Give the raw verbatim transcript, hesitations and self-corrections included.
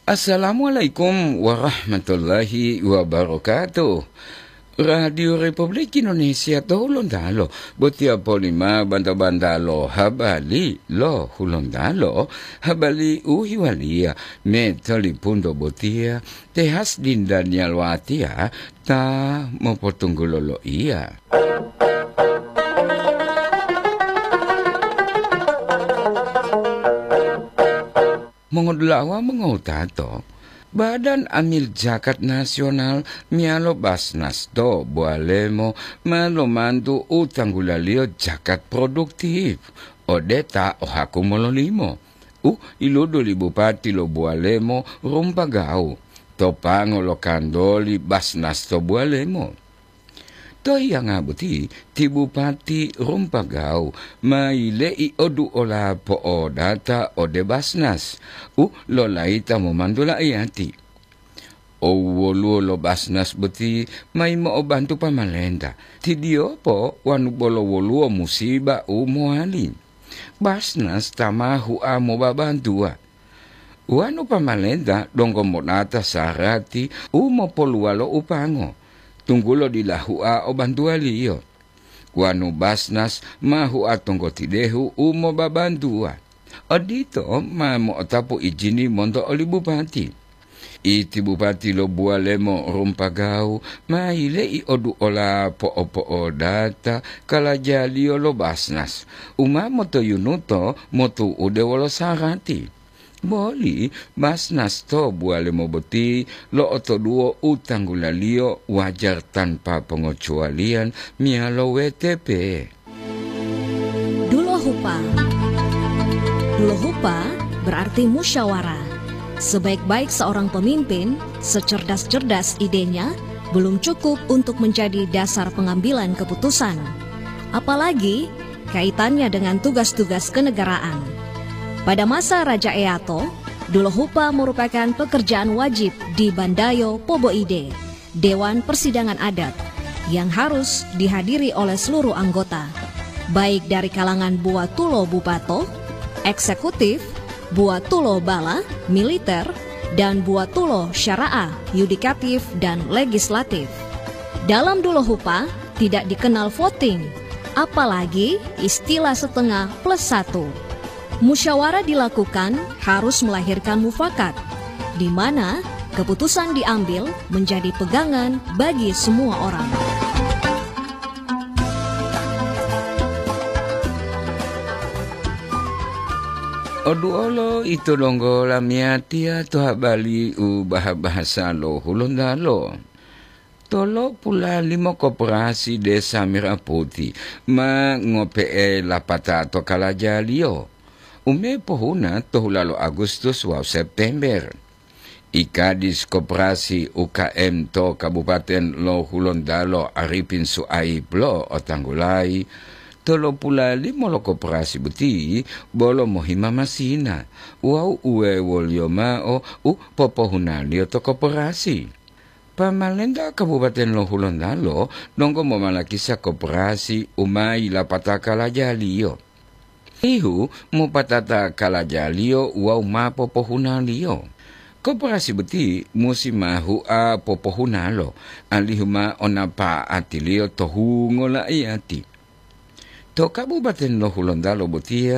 Assalamualaikum warahmatullahi wabarakatuh. Radio Republik Indonesia to Hulontalo, botiya polima banta-banta lo habari lo Hulontalo, habari u hiwaliya metolipunto botiya, Tehas Dinda Nialwatia ta mopotunggulo loiya. Mongodula'a wawu mongowutato, Badan Amil Zakat Nasional meyalo Basnas to Bualemo ma lomantu u tanggulaliyo zakat produktif ode ta o haku mololimo, u iludu li Bupati lo Bualemo Rumpagawu to pango lo kantoli Basnas to Bualemo. To hiyanga boti, ti Bupati Rumpagawu ma yile'i oduola po'odata ode Basnas u lolayita momantu la'iyati. Owwoluwo lo Basnas boti ma yimo'obantu pamalenta, ti diyopo wanu bolo woluwo musiba u mowali. Basnas ta ma hua mobabantuwa. Wanu pamalenta donggo monata sarati u mopoluwalo u pango, tunggulo dila hua o bantuwaliyo. Wanu Basnas ma hua tonggotidehu u mobabantuwa. Odito ma mo'otapu ijini monto oli bupati. Iti bupati lo Buwalemo Rumpagawu ma yile'i oduola po'opo'odata kalajaliyo lo Basnas, u ma motoyunuto motu'ude wolo sarati. Boli Basnas to Buwalemo boti lo'otoduwo u tanggulaliyo wajar tanpa pongocuwaliyan meyalo W T P. Dulohupa. Dulohupa berarti musyawarah. Sebaik-baik seorang pemimpin, secerdas-cerdas idenya, belum cukup untuk menjadi dasar pengambilan keputusan. Apalagi kaitannya dengan tugas-tugas kenegaraan. Pada masa Raja Eato, Dulohupa merupakan pekerjaan wajib di Bandayo Poboide, Dewan Persidangan Adat, yang harus dihadiri oleh seluruh anggota, baik dari kalangan buwatulo bupato, eksekutif, buwatulo bala, militer, dan buwatulo syara'ah, yudikatif, dan legislatif. Dalam Dulohupa tidak dikenal voting, apalagi istilah setengah plus satu. Musyawarah dilakukan harus melahirkan mufakat, di mana keputusan diambil menjadi pegangan bagi semua orang. Oduolo ito donggo lamiyatiya to habari u baha-bahasa lo Hulontalo. Tolopula limo koperasi Desa Merah Putih ma ngope'e lapata to kalajaliyo, u me pohuna to hulalo Agustus wawu September. I Kadis Koperasi U K M to Kabupaten lo Hulontalo Arifin Suaib lo'otanggulayi, tolopula limo lo koperasi boti bolo mohima masina wawu uwewoliyo mao u popohunaliyo to koperasi. Pamalenta Kabupaten lo Hulontalo donggo momalakisa koperasi u ma yilapataka lajaliyo. Ihu mopatata kalajaliyo wawu ma popohunaliyo. Koperasi boti musi ma hua popohunalo, alihu ma onapa'atiliyo to hungo la'iyati. To Kabupaten lo Hulontalo botiya,